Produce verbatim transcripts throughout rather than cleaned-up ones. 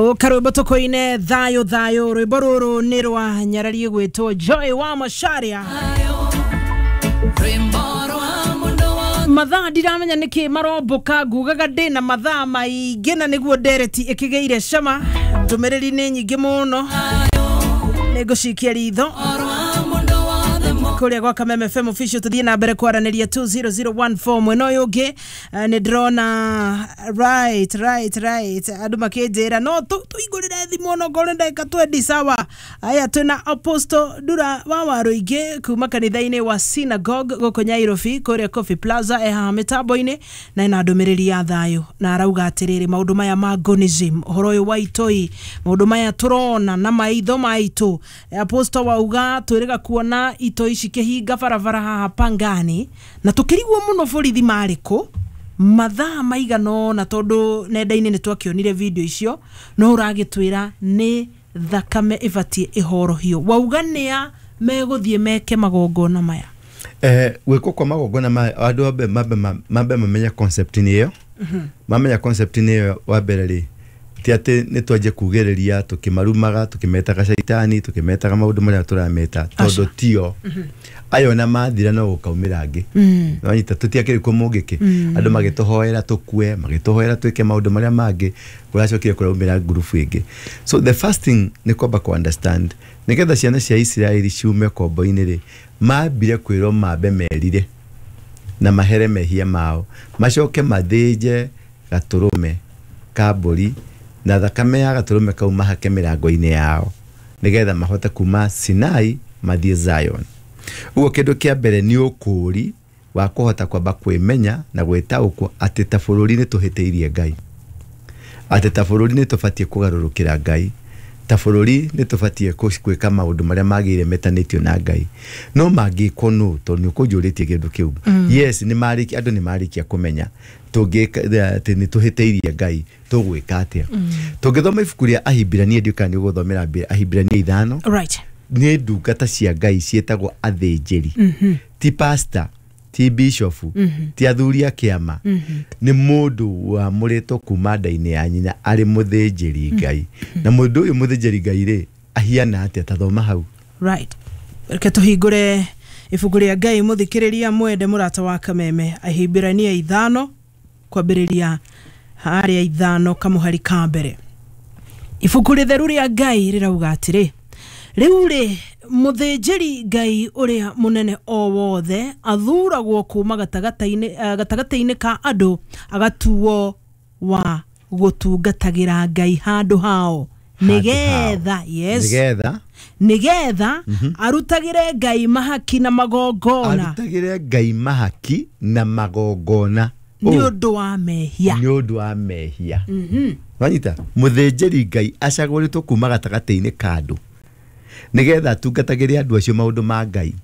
Karwimbo tukoine thayo thayo rwimbo ruru ni rwa nyarari gwitwo Joy wa Macharia. Mathaa ndiramenya niki maromboka ngugaga ndina mathaa maingi na niguo ndereti ikigeire cama ndumiriri ni nyingi muno ningucikia ritho kuria gwa Kameme F M official tuthie na mbere kwaraniria two zero zero one four mwena uyu ungi ni ndirona right right right andu makinjira no tuigurire thimu no ngore ndagika twenty sawa. Aya twina Apostle Ndura wa Waruingi kuma kanitha-ini wa Synagogue guku Nyairobi kuria Coffee Plaza e haha mitambo-ini na ina ndumiriri ya thayo na arauga atiriri maundu maya ma gonism uhoro uyu wa itoi maundu maya turona na maitho maitu. Apostle wauga twiriga kuona itoi cikihinga barabara haha Pangani na tukirigwo muno borithi mariku mathaa maigana ona tondu nenda-ini nitwakionire video icio no uragitwira ni thakame ibatie ihorohio wauga nia meguthie meke magongona maya eh gwikwo kwa magongona maya andu ambe mambe mambe mamenya concept ni iyo mamenya concept ni iyo wa mbere ri ti ati ni twanjie kugereria tukimarumaga tukimetaga caitani tukimetaga maundu maria turameta tondu tio ayo na mathira no gukaumira angi nwanyita tutiakiri ko mungiki andu magituhoera tukue magituhoera twike maundu maria mangi kuracokire kuraumira ngurubu ingi. So the first thing ni kwamba ku understand nigetha ciana cia Isiraeli ciume kombo-ini ri mambire kwirwo mambe merire na mahere mehia mao macoke mathinje gaturume ka mbũri na thakame ya gaturume kau mahake mirango-inĩ yao nigetha mahote kuma Sinai mathie Zion. Uguo kindu kia mbere ni ukuri wa kuhota kwamba kwimenya na gwitaukwo ati ta bururi ni tuhitiirie Ngai, ati ta bururi ni tubatie kugarurukira Ngai, ta bururi ni tubatie gwika maundu maria magire metanitio na Ngai no mangikwo no tondu ni ukunjuritie kindu kiu. Yes, ni mariki andu ni marikia kumenya tungika ati ni tuhitiirie Ngai tugwika atia. Tungithoma ibuku ria Ahibirania ndiuka ni uguthomera Ahibirania ithano right ni ndungata cia Ngai cietagwo athinjiri ti pastor ti bishop ti athuri a kiama ni mundu wamuritwo kuma nda-inĩ ya nyina ari muthinjiri Ngai na mundu uyu muthinjiri Ngai ri ahiana atia ta thoma hau right. Reke tuhingure ibuku ria Ngai muthikiriria mwende murata wa Kameme Ahibirania ithano kwambiriria haria ithano kamuhari ka mbere. Ibuku ritheru ria Ngai rirauga atiri riu ri muthinjiri Ngai uria munene o wothe athuragwo kuma gatagataini gatagataini ka andu agatuo wa gutungatagira Ngai handu hao nigetha yes nigetha nigetha arutagire Ngai mahaki na magongona arutagire Ngai mahaki na magongona ni undu wa mehia ni undu wa mehia. Mhm wanyita muthinjiri Ngai acagũrĩtwo kuma gatagataini ka andu nigetha atungatagĩre andu acio maundu ma Ngai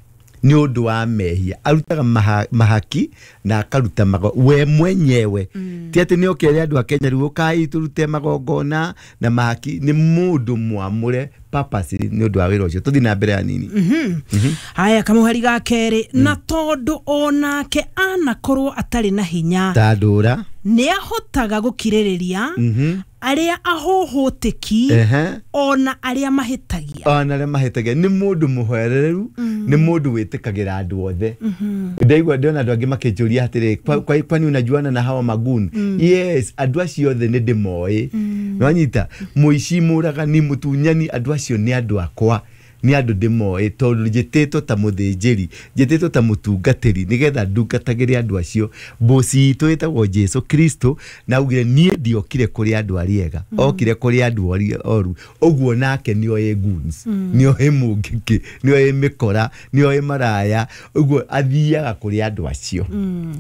ni undu wa mehia arutaga maha, mahaki na akaruta mago we mwenyewe mm. Ti ati ni okere andu a Kenya riu ukai turute magongona na mahaki ni mundu mwamure purpose ni undu wa wira ucio tuthi na mbere anini. mm -hmm. mm -hmm. Haya kamuhari ga keri mm. Na tondu onake anakorwo atari na hinya tandura ni ahotaga gukiririria mm -hmm. aria ahohoteki ona aria mahitagia ona aria mahitagia ni mundu muhoereru mm. Ni mundu witikagira andu othe. Ndaigua ndiona andu angi makinjuria atiri kwani unajuana na hawa magun mm. Yes, andu acio othe ni ndimoi mm. Nwanyita muici muragani mutunyani andu acio ni andu akwa ni andu ndimoi tondu njititwo ta muthinjiri njititwo ta mutungatiri nigetha ndungatagire andu acio. Mboci itu itagwo Jesu Kristo na augire nie ndiokire kuri andu aria ega okire kuri andu aria oru uguo nake nioĩ goons nioĩ mungiki nioĩ mikora nioĩ maraya uguo athiaga kuri andu acio.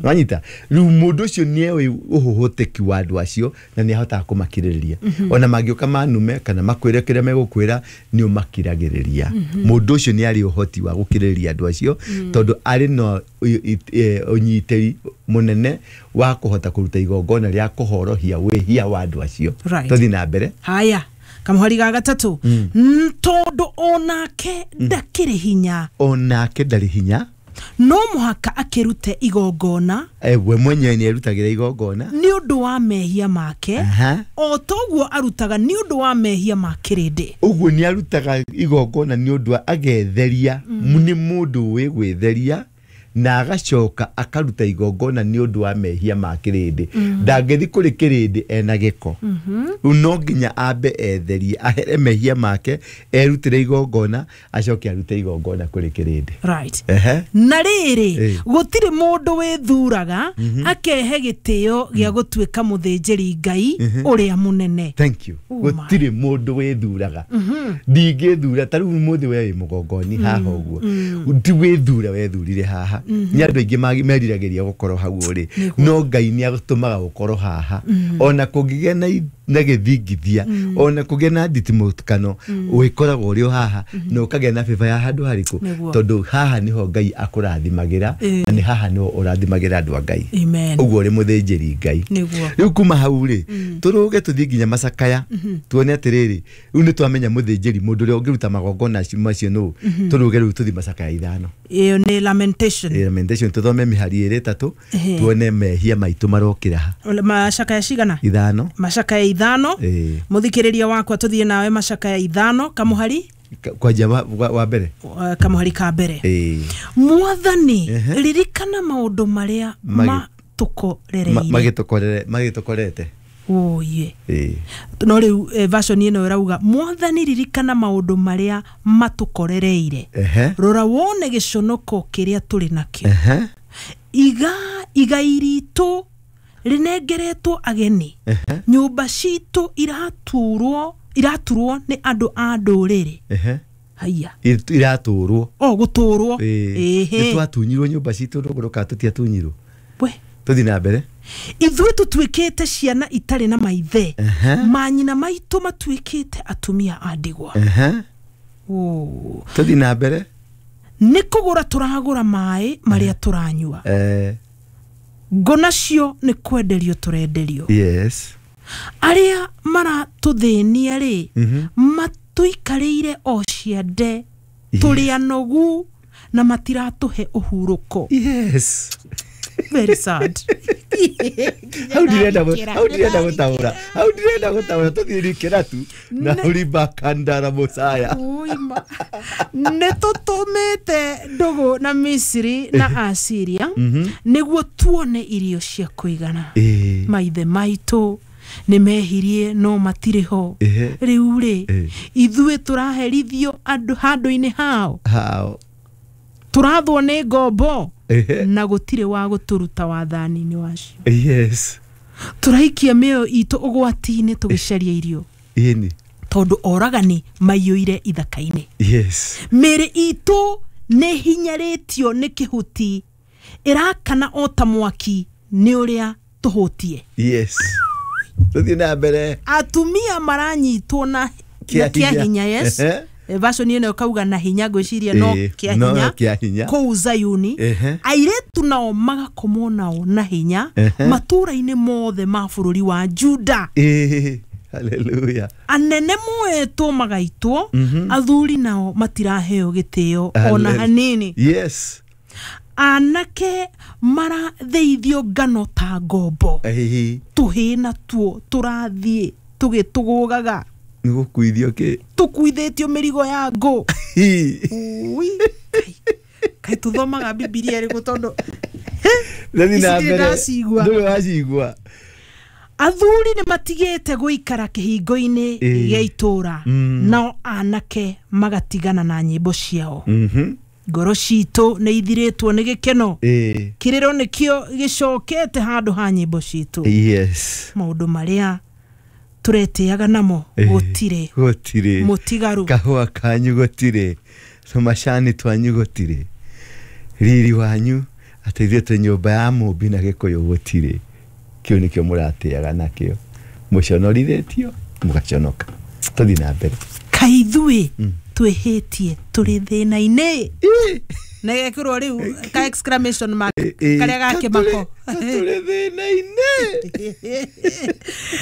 Wanyita riu mundu ucio nieoĩ uhuhutiki wa andu acio na niahotaga kumakirĩrĩria ona mangĩũka manume kana makwĩre kĩrĩa megũkwĩra nĩ ũmakiragĩrĩria. Mundu ucio ni ari uhoti wa gukirĩrĩria andu acio tondu ari no unyitĩri munene wa kuhota kuruta igongona ria kuhorohia wĩhia wa andu acio. Tuthi na mbere haya kamuhari ga gatatu tondu onake ndakĩrĩ hinya onake ndarĩ hinya No mũhaka akĩrute igongona. We mwenyewe nĩ arutagĩra igongona nĩ ũndũ wa mehia make. O toguo arutaga nĩ ũndũ wa mehia ma kĩrĩndĩ. Ũguo nĩ arutaga igongona nĩ ũndũ wa agetheria, nĩ mũndũ wĩ gwĩtheria na agacoka akaruta igongona nĩ ũndũ wa mehia ma kĩrĩndĩ. Ndangĩthi kũrĩ kĩrĩndĩ ena gĩko. Rĩu no nginya ambe etherie, ahere mehia make, erutĩre igongona, acoke arute igongona kũrĩ kĩrĩndĩ. Right. Ehe. Na rĩrĩ, gũtirĩ mũndũ wĩthuraga akehe gĩtĩo gĩa gũtuĩka mũthĩnjĩri Ngai ũrĩa mũnene. Thank you. Gũtirĩ mũndũ wĩthuraga. Ndingĩthura ta rĩu mũthĩ we wĩ mũgongoni haha ũguo. Ti wĩthura wethurire haha. Nĩ andũ aingĩ meriragĩria gũkorwo hau ũrĩ, no Ngai nĩ agũtũmaga gũkorwo haha. Ona kũngĩgĩa na gĩthingithia, ona kũgĩa na nditimũkano, wĩkoragwo ũrĩ o haha na ũkagĩa na favor ya handũ harĩkũ, tondũ haha nĩho Ngai akũrathimagĩra na nĩ haha nĩho ũrathimagĩra andũ a Ngai. Ũguo ũrĩ mũthĩnjĩri Ngai. Rĩu kuma hau rĩ, tũrũge tũthiĩ nginya macakaya, tuone atĩrĩrĩ, rĩu nĩ twamenya mũthĩnjĩri mũndũ ũrĩa ũngĩruta magongona macio nũ. Tũrũge rĩu tũthiĩ macakaya ithano. Ĩyo nĩ lamentation. Lamentation, tũthome mĩhari ĩrĩ ĩtatũ, tuone mehia maitũ marokĩra ha. Macakaya cigana? Ithano. Macakaya ithano. Mũthikĩrĩria wakwa tũthiĩ nawe macakaya ithano kamuhari kwanja wa mbere, kamuhari ka mbere. Mwathani, ririkana maũndũ marĩa matũkorereire, magĩtũkorete. Oye. No rĩu version ĩno ĩrauga Mwathani ririkana maũndũ marĩa matũkorereire, rora wone gĩconoko kĩrĩa tũrĩ nakĩo. Iga igai ritũ rĩnengeretwo ageni, nyũmba citũ iraturwo iraturwo nĩ andũ a ndũrĩrĩ. Haiya. Iraturwo. O gũtũrwo. Nĩ twatunyirwo nyũmba citũ rũgũrũ ka tũtiatunyirwo. We. Tũthiĩ na mbere. Ithuĩ tũtuĩkĩte ciana itarĩ na maithe, manyina maitũ matuĩkĩte atumia a ndigwa. Tũthiĩ na mbere. Nĩ kũgũra tũragũra maĩ marĩa tũranyua. Ngo nacio nĩ kwenderio tũrenderio. Yes. Arĩa maratũthĩnia rĩ, matũikarĩire o ciande, tũrĩ anogu na matiratũhe ũhurũko. Yes. Very sad. Hau ndirenda hau ndirenda gũtaũra, hau ndirenda gũtaũra, tũthiĩ rikĩra tu na ũrimba kandara mũcaya. Nĩ tũtũmĩte ndũgũ na Misiri na Asiria nĩguo tuone irio cia kũigana. Maithe maitũ nĩ mehirie no matirĩ ho. Rĩu rĩ, ithuĩ tũraherithio andũ handũ-inĩ hao. Hao. Tũrathwo nĩ ngombo na gũtirĩ wa gũtũruta wathani-inĩ wacio. Yes. Tũraikia mĩoyo itũ ũgwati-inĩ tũgĩcaria irio. Ĩni. Tondũ oragani maiyũire ithaka-inĩ. Yes. Mĩĩrĩ itũ nĩ hinyarĩtio nĩ kĩhuti, ĩrakana o ta mwaki nĩ ũrĩa tũhũtie. Yes. Tũthiĩ na mbere. Atumia maranyitwo na kĩa hinya. Yes. Version ĩno kauga na hinya, ngwĩciria no kĩa hinya kũu Zayuni. Airĩtu nao magakomwo nao na hinya matũũra-inĩ mothe ma bũrũri wa Juda. Hallelujah. Anene moetwo magaitwo, athuri nao matiraheo gĩtĩo ona hanini. Yes. Anake maratheithio ngano ta ngombo, tũhĩĩ natuo tũrathiĩ tũgĩtũgũgaga. Nĩ gũkuithio kĩ? Tũkuithĩtio mĩrigo ya ngũ. Ui, kaĩ tũthomaga Bibilia ĩrĩkũ tondũ ici ndirĩ ndacigua. Ndũrĩ wacigua. Athuri nĩ matigĩte gũikara kĩhingo-inĩ gĩa itũũra, nao anake magatigana na nyĩmbo ciao. Ngoro citũ nĩ ithirĩtwo nĩ gĩkeno, kĩrĩro nĩkĩo gĩcokete handũ ha nyĩmbo citũ. Yes. Maũndũ marĩa tũretĩaga namo gũtirĩ, gũtirĩ mũtigaru, kahũa kanyu gũtirĩ, tũmacani twanyu gũtirĩ, riri wanyu atĩ ithuĩ twĩ nyũmba ya mũmbi na Gĩkũyũ gũtirĩ. Kĩu nĩkĩo mũratĩaga nakĩo, mũconorithĩtio mũgaconoka. Tũthiĩ na mbere. Kaĩ ithuĩ twĩhĩtie tũrĩ thĩna-inĩ Na gekĩrwo rĩu ka exclamation mark Ĩ, karĩa ga kĩmako. Tũrĩ thĩna-inĩ.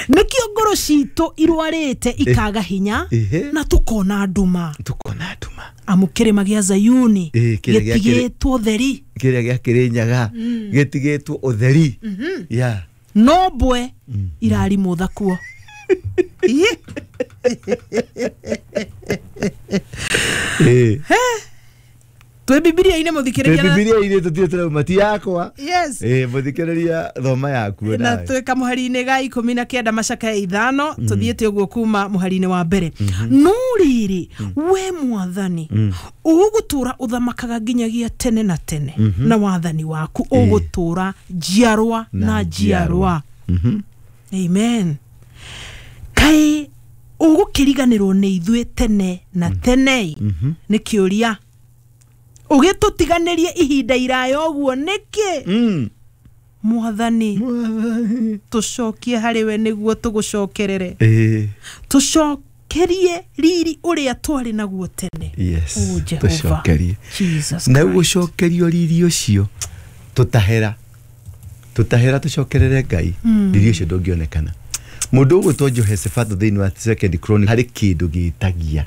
Nĩkĩo ngoro citũ irwarĩte ikaga hinya Ĩhĩ. na tukona nduma. Tukona nduma. Amu kĩrĩma gĩa Zayuni Ĩ, kĩrĩa gĩa kĩrĩ- gĩtigĩtwo theri. Kĩrĩa gĩa Kĩrĩnyaga gĩtigĩtwo ũtheri ya. No mbwe irarimũtha kuo. Ĩ, Ĩ. Twĩ Bibilia-inĩ, Twĩ mũthikĩrĩria na- Bibilia-inĩ, tũtirĩ tũrauma, ti yakwa. Yes. Ĩ, mũthikĩrĩria, thoma yaku Na nawe. twĩ kamũhari-inĩ ga ikũmi na kenda macaka ithano, tũthiĩte ũguo kuma mũhari-inĩ wa mbere. No rĩrĩ, we Mwathani, ũgũtũra ũthamakaga nginyagia tene na tene, na wathani waku ũgũtũra njiarwa na njiarwa. Mhm. Amen. Kaĩ ũgũkĩriganĩrwo nĩ ithuĩ tene na tene? Nĩ kĩũria. Ũgĩtũtiganĩrie ihinda iraya ũguo nĩkĩ? Mm. Mwathani, Mwathani. tũcokie harĩ we nĩguo tũgũcokerere. Ĩ, Tũcokerie riri ũrĩa twarĩ naguo tene. Yes. Oh, Jehovah. Tũcokerie. Jesus Na Christ. gũcokerio riri ũcio, tũtahera tũtahera tũcokerere Ngai, riri ũcio ndũngĩonekana. Mũndũ ũgwĩtwo Jehoshaphat thĩinĩ wa Second Chronicle harĩ kĩndũ gĩtagia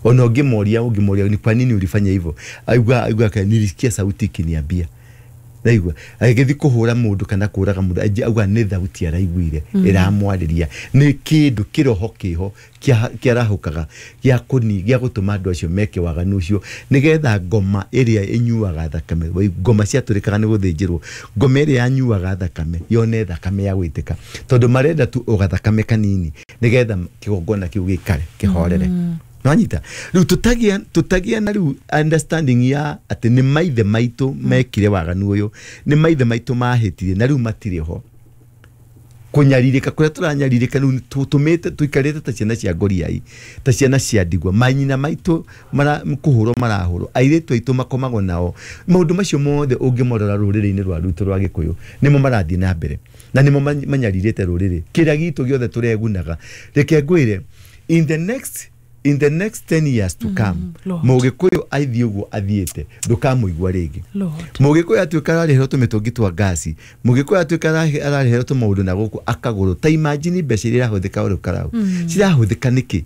ona ũngĩmoria ũngĩmoria ni kwa nini ulifanya hivyo, aigua aigua ka nilisikia sauti ikiniambia. Naigua agĩthiĩ kũhũra mũndũ kana kũraga mũndũ, aingĩ auga nĩ thauti araiguire ĩramwarĩria, nĩ kĩndũ kĩroho kĩho kĩa- kĩarahũkaga gĩa kũni gĩa gũtũma andũ acio meke waganu ũcio, nĩgetha ngoma ĩrĩa ĩnyuaga thakame, wai- ngoma ciatũrĩkaga nĩ gũthĩnjĩrwo, ngoma ĩrĩa yanyuaga thakame yone thakame ya gwĩtĩka, tondũ marenda tu ũgathakame kanini nĩgetha kĩgongona kĩu gĩikare kĩhorere. Nwanyita rĩu tũtagĩa tũtagĩa na rĩu understanding ya atĩ nĩ maithe maitũ mekire waganu ũyũ, nĩ maithe maitũ mahĩtirie na rĩu matirĩ ho. Kũnyarirĩka kũrĩa tũranyarirĩka rĩu tũtũmĩte tũikarĩte ta ciana cia ngoriai, ta ciana cia ndigwa. Manyina maitũ mara kũhũrwo marahũrwo, airĩtu aitũ makomagwo nao. Maũndũ macio mothe ũngĩmorora rũrĩrĩ-inĩ rwa rwitũ rwa Gĩkũyũ nĩmo marathiĩ na mbere na nĩmo many- manyarirĩte rũrĩrĩ kĩrĩa gitũ gĩothe tũregunaga. Reke ngwĩre, in the next in the next ten years to come, Lord. Mũgĩkũyũ athiĩ ũguo athiĩte, ndũkamũigua rĩngĩ. Lord. Mũgĩkũyũ atuĩka ararĩhĩrwo tũmĩtũngi twa ngasi, mũgĩkũyũ atuĩka arahe- ararĩhĩrwo tũmaũndũ na gũkũ akagũrwo. Ta imagine mbeca iria irahũthĩka ũrĩ karau cirahũthĩka nĩkĩ?